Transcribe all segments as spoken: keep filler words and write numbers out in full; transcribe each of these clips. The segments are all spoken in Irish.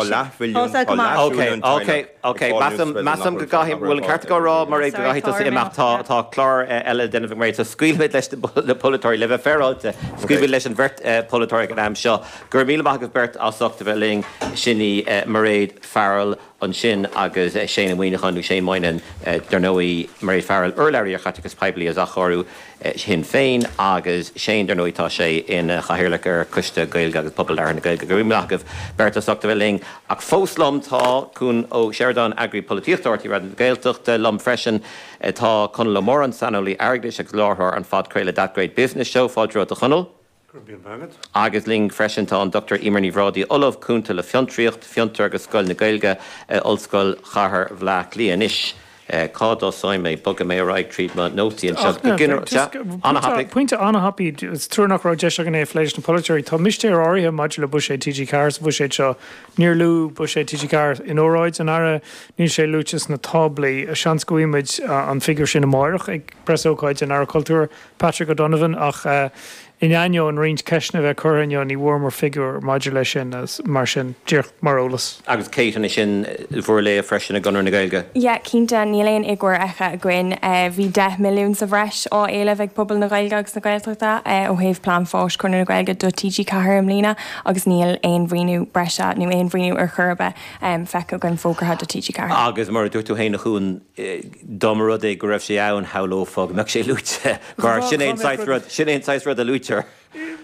leathmhilliún Tá go maith. Ok, ok, ok, measaim measaim go gcaithfidh bhfuil an ceart go rá mar go gcaithfidh tusa imeacht tá tá clár eile déanamh mar so scaoilfimid leis na polaiteoirí le bheith féaráilte scaoilfimid leis an bheirt polaiteoirí ag an am seo. Gur míle maith agaibh beirt as ucht a bheith linn sin í Mairéad Farrell ansin agus Shane Muineacháin nó Shane Moynihan dar ndóigh Mairéad Farrell urlabhraí ar chaiteachas poiblí as athchóiriú Shinn Féin agus Shane dar ndóigh tá sé ina chathaoirleach ar Choiste Gaeilge agus Pobal Labhartha na Gaeilge. Go raibh míle maith agaibh beirt as ucht a bheith linn ach fós liom tá Cuan Ó Seireadáin eagraí polaitíochta R T Raidió na Gaeltachta liom freisin tá Conall Ó Móráin saineolaí airgeadais agus láithreoir an phodchraoladh That Great Business Show fáilte romhat a Chonaill. Agus linn freisin tá an Doctor Eimear Ní Bhrádaigh Ollamh Cúnta le Fiontraíocht, Fiontar agus Scoil na Gaeilge Ollscoil Chathair Bhaile Átha Cliath anois. Cá dtosóidh mé bogfaidh mé ar aghaidh tríd mo nótaí anseo. Pointe an-thapaidh is trua nach raibh deis againn é a phlé leis na polaiteoirí. Tá mistéir áirithe maidir le buiséad T G Ceathair sa bhuiséad seo. Níor luadh buiséad T G Ceathair in óráid an Aire, níl sé luaite sna táblaí. Seans go bhfaighimid an figiúr sin amárach ag preasócáid an Aire Cultúir Patrick O'Donovan ach in ainneoin roinnt ceisteanna a bheith curtha inniu ní bhfuaireamar figiúr maidir leis sin mar sin díreach mar eolas. Agus Kate ansin sin bhur léamh freisin i gConradh na Gaeilge. Yeah, cinnte níl aon fhigiúr feicthe againn. Bhí deich milliún sa bhreis á éileamh ag pobal na Gaeilge agus na Gaeltachta ó thaobh plean fáis Chonradh na Gaeilge do T G Ceathair i mbliana agus níl aon mhaoiniú breise nó aon mhaoiniú ar chor ar bith feicthe againn fógartha do T G Ceathair. Agus mar a dúirt tú féin a Chuain dá mba rud é go raibh sé ann shamhlófá go mbeadh sé luaite mar sin é an saghas rud sin é an saghas rud a luaitear.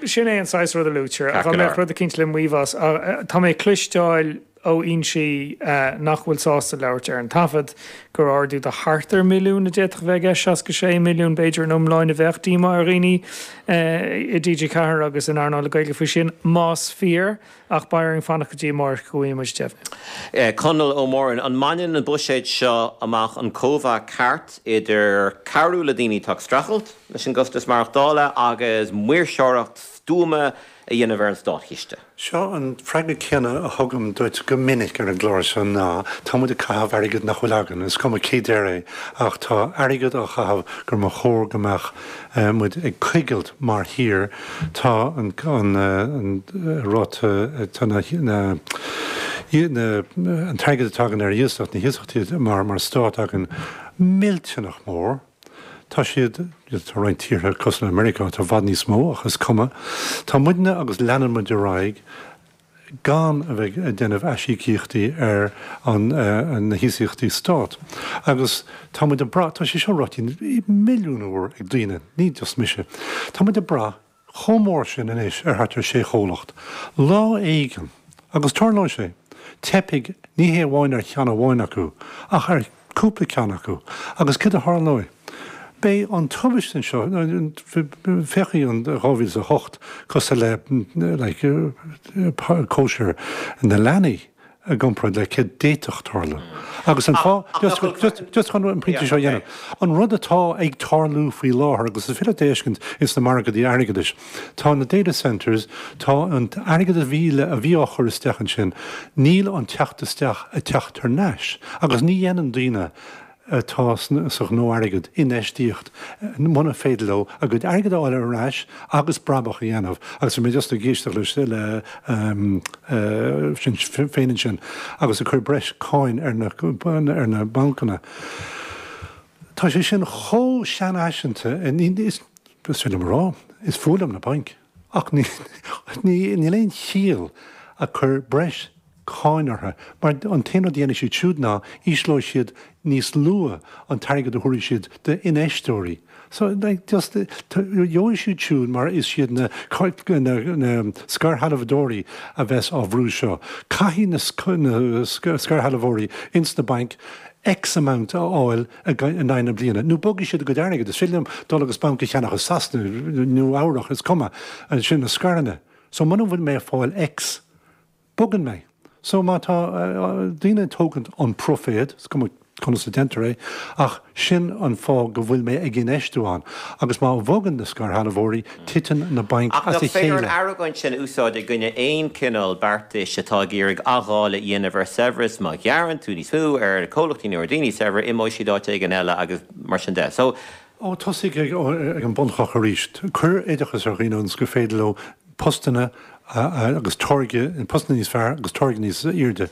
Sin é an saghas rud a luaitear a mbeadh rud eicínt le maíomh as. Tá mé ag cloisteáil ó fhoinsí nach bhfuil sásta labhairt ar an taifead gur ardú de thart ar milliún a d'fhéadfadh bheith aige seasca sé milliún b'fhéidir an iomláin a bheadh díomá ar dhaoine i T G Ceathair agus in earnáil na Gaeilge faoi sin más fíor ach beidh orainn fanacht go dtí amárach go bhfaighidh muid deimhniú. Conall Ó Móráin, an mbaineann an buiséad seo amach an cóimheá ceart idir cabhrú le daoine atá ag streachailt leis an gcostas maireachtála agus maoirseoireacht stuama a dhéanamh ar an státchiste? Seo an freagra céanna a thugaim duit go minic ar an gclár seo ná tá muid ag caitheamh airgead nach bhfuil againn, is cuma cé deir é, ach tá airgead á chaitheamh gur mba chóir go mbeadh muid ag coigilt mar thír tá an an ráta tá na na an t-airgead atá againn ar iasacht na hiasachtaí mar mar stát againn millteanach mór. Tá siad tá roinnt tíortha cosúil le Meiriceá atá i bhfad níos mó ach is cuma. Tá muidne agus leanann muid ar aghaidh gan a bheith ag déanamh aisíocaíochtaí ar an na hiasachtaí stát. Agus tá muid ag brath tá sé seo ráite milliún uair ag daoine, ní just mise. Tá muid ag brath chomh mór sin anois ar thart ar sé chomhlacht. Lá éigin agus tarlóidh sé, teipfidh ní hé amháin ar cheann amháin acu ach ar cúpla ceann acu agus céard a tharlóidh? Beidh an tubaiste anseo féachfaidh an dhá mhíle a hocht cosúil le like cóisir na leanaí i gcomparáid le céard d'fhéadfadh tarlú. Agus an fáth just just just chun an pointe seo a dhéanamh, an rud atá ag tarlú faoi láthair agus is féidir leat é a fheiscint ins na margaí airgeadais, tá na data centres, tá an t-airgead a bhí le a bhí á chur isteach ansin, níl an teacht isteach ag teacht thar n-ais agus ní dhéanann daoine atá sa ghnó airgid infheistíocht muna féidir leo a gcuid airgid a fháil ar ais agus brabach a dhéanamh agus bhí mé just ag éisteacht leis le Sinn Féin ansin agus ag cur breis cáin ar na ar na bancanna. Tá sé sin chomh seanfhaiseanta is féidir liom a rá is fuath liom na bainc ach níl aon chiall ag cur breis cáin orthu, mar an t-aon rud a dhéanfaidh siad siúd ná ísleoidh siad níos luaithe an t-airgead a thabharfaidh siad d'infheisteoirí. So, like, just, gheobhaidh siad siúd mar is iad na na scairshealbhóirí a bheas á bhrú seo. Caithfidh na na scairshealbhóirí ins na bainc X amount a fháil in aghaidh na bliana, nó bogfaidh siad a gcuid airgid. Is féidir liom dul agus banc a cheannach i Sasana, Nua Eabhrac, is cuma, sin na scaireanna. So muna bhfuil mé ag fáil X, bogann mé. So má tá daoine ag tógaint an pruiféad, is cuma conas a déantar é, ach sin an fáth go bhfuil mé ag infheistiú ann. Agus má bhogann na scairshealbhóirí, titeann na bainc Ach as nach a féidir an chéile. argóint sin a úsáid i gcoinne aon chineál beartais atá ag iarraidh athdháileadh a dhéanamh ar saibhreas, má ghearrann tú níos mó ar chomhlachtaí nó ar dhaoine saibhre, imeoidh siad áit éigin eile agus mar sin de. So. Ó, tosaigh ag an bunchloch arís. Cuir oideachas ar dhaoine ionas gur féidir leo postanna agus táirge postanna níos fearr agus táirge níos airde.